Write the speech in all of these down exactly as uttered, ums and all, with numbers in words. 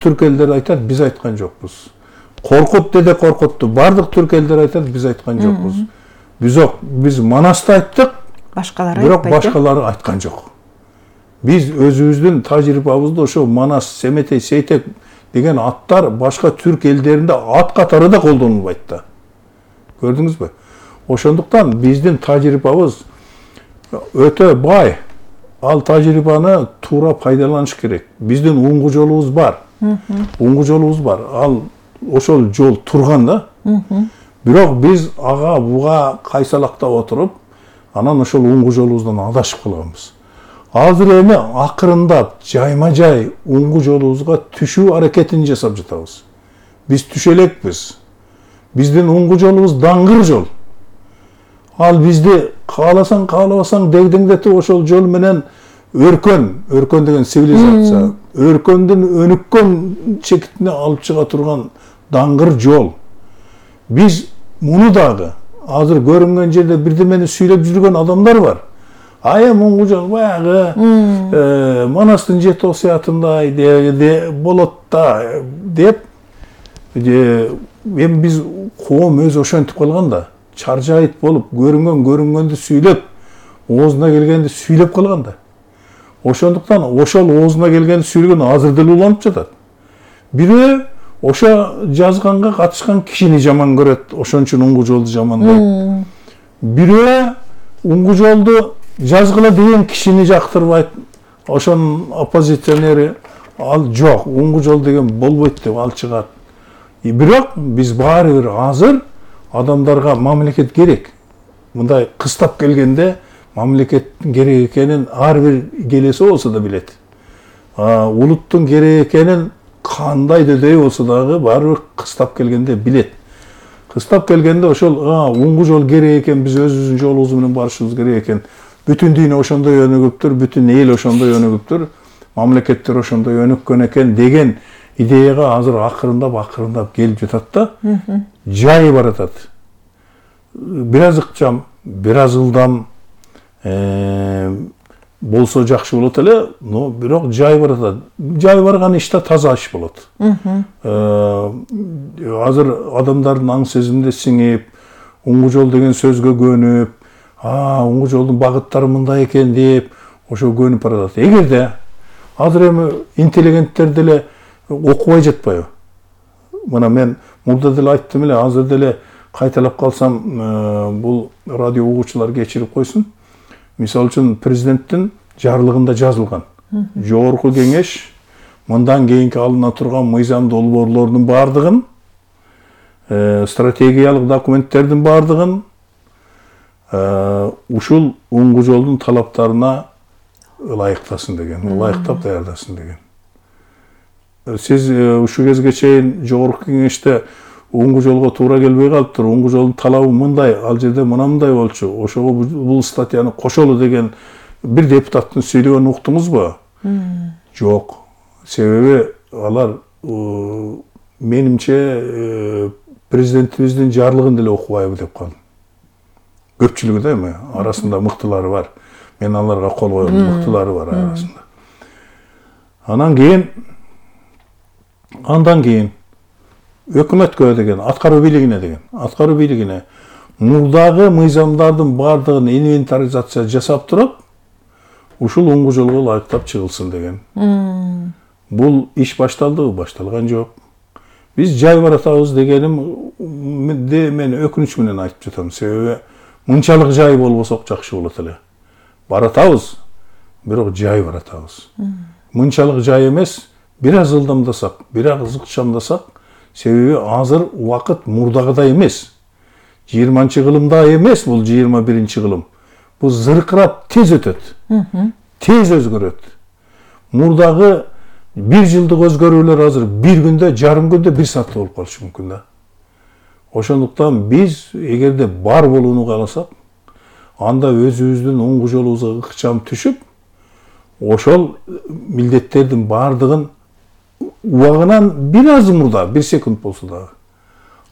Түрк элдер айтат, биз айткан жокпуз. Коркут деде коркутту. Бардык түрк элдер айтат, биз айткан жокпуз. Биз биз Манасты айттык, башкалары бирок башкалары айткан жок. Биз өзүбүздүн тажрыйбабызды ошо Манас, Семетей, Сейтек деген аттар башка түрк элдеринде ат катары да колдонулбайт да. Көрдүңүзбү? Ошондуктан биздин тажрыйбабыз өтө бай. Ал тажрыйбаны туура пайдаланыш керек. Биздин уңгу жолубуз бар. Уңгу жолубуз бар. Ал ошол жол турган да. Бирок биз ага буга кайсалактап отуруп, анан ошол уңгу жолубуздан адашып калганбыз. Азыр эми акырындап жайма-жай уңгу жолубузга түшүү аракетин жасап жатабыз. Биз түшө элекпиз. Биздин уңгу жолубуз даңгыр жол. Ал бизди кааласаң, каалабасаң дегдеңдетип ошол жол менен өркөн, өркөн деген цивилизация, өркөндүн өнүккөн чекитине алып чыга турган даңгыр жол. Биз муну дагы азыр көрүнгөн жерде бирдемени сүйлөп жүргөн адамдар бар. Ая уңгу жол баягы Манастын жети осуятындай болот да деп, эми биз коом өзү ошентип калган да. Чаржайыт болуп, көрүнгөн көрүнгөндү сүйлөп, оозуна келгенди сүйлөп калган да. Ошондуктан ошол оозуна келгенди сүйлөгөн азыр деле уланып жатат. Бирөө ошо жазганга катышкан кишини жаман көрөт, ошон үчүн уңгу жолду жамандайт. Бирөө уңгу жолду жазгыла деген кишини жактырбайт. Ошонун оппозиционери ал жок, уңгу жол деген болбойт деп ал чыгат. Бирок биз баары бир азыр адамдарга мамлекет керек. Мындай кыстап келгенде мамлекеттин керек экенин ар бир келеси болсо да билет. Улуттун керек экенин кандай дөдөй болсо дагы баары бир кыстап келгенде билет. Кыстап келгенде ошол уңгу жол керек экен, биз өзүбүздүн жолубуз менен барышыбыз керек экен. Бүтүн дүйнө ошондой өнүгүптүр, бүтүн эл ошондой өнүгүптүр, мамлекеттер ошондой өнүккөн экен деген идеяга азыр акырындап акырындап келип жатат да. Жай баратат. Бир аз ыкчам, бир аз ылдам болсо жакшы болот эле, но бирок жай баратат. Жай барган иш да таза иш болот. Азыр адамдардын аң сезимине сиңип, уңгу жол деген сөзгө көнүп, а уңгу жолдун багыттары мындай экен деп, ошо көнүп баратат. Эгерде азыр эми интеллигенттер деле окубай жатпайбы? Мына мен мурда деле айттым эле, азыр деле кайталап калсам, бул радио угуучулар кечирип койсун. Мисалы үчүн президенттин жарлыгында жазылган. Жогорку кеңеш мындан кийинки алына турган мыйзам долбоорлордун бардыгын, стратегиялык документтердин бардыгын ушул уңгу жолдун талаптарына ылайыктасын деген, ылайыктап даярдасын деген. Сиз ушул кезге чейин жогорку кеңеште уңгу жолго туура келбей калыптыр, уңгу жолдун талабы мындай, ал жерде мындай болчу, ошого бул статьяны кошолу деген бир депутаттын сүйлөгөнүн уктуңузбу? Жок. Себеби алар менимче президентибиздин жарлыгын деле окубайбы деп калдым. Көпчүлүгү да эми арасында мыктылары бар. Мен аларга кол коем, мыктылары бар арасында. Анан кийин андан кийин өкмөткө деген, аткаруу бийлигине деген, аткаруу бийлигине мурдагы мыйзамдардын бардыгын инвентаризация жасап туруп, ушул уңгу жолго ылайыктап чыгылсын деген. Бул иш башталдыбы? Башталган жок. Биз жай баратабыз дегенимди мен өкүнүч менен айтып жатам. Себеби мынчалык жай болбосок жакшы болот эле. Баратабыз, бирок жай баратабыз. Мынчалык жай эмес, бир аз ылдамдасак, бир аз ыкчамдасак, себеби азыр убакыт мурдагыдай эмес. жыйырманчы кылымда эмес бул жыйырма биринчи кылым. Бул зыркырап тез өтөт. Тез өзгөрөт. Мурдагы бир жылдык өзгөрүүлөр азыр бир күндө, жарым күндө, бир саатта болуп калышы мүмкүн да. Ошондуктан биз эгерде бар болууну кааласак, анда өзүбүздүн уңгу жолубузга ыкчам түшүп, ошол милдеттердин бардыгын убагынан бир аз мурда, бир секунд болсо дагы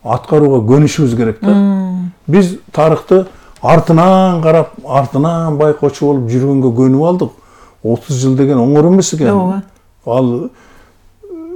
аткарууга көнүшүбүз керек да. Биз тарыхты артынан карап, артынан байкоочу болуп жүргөнгө көнүп алдык. отуз жыл деген оңор эмес экен. Ал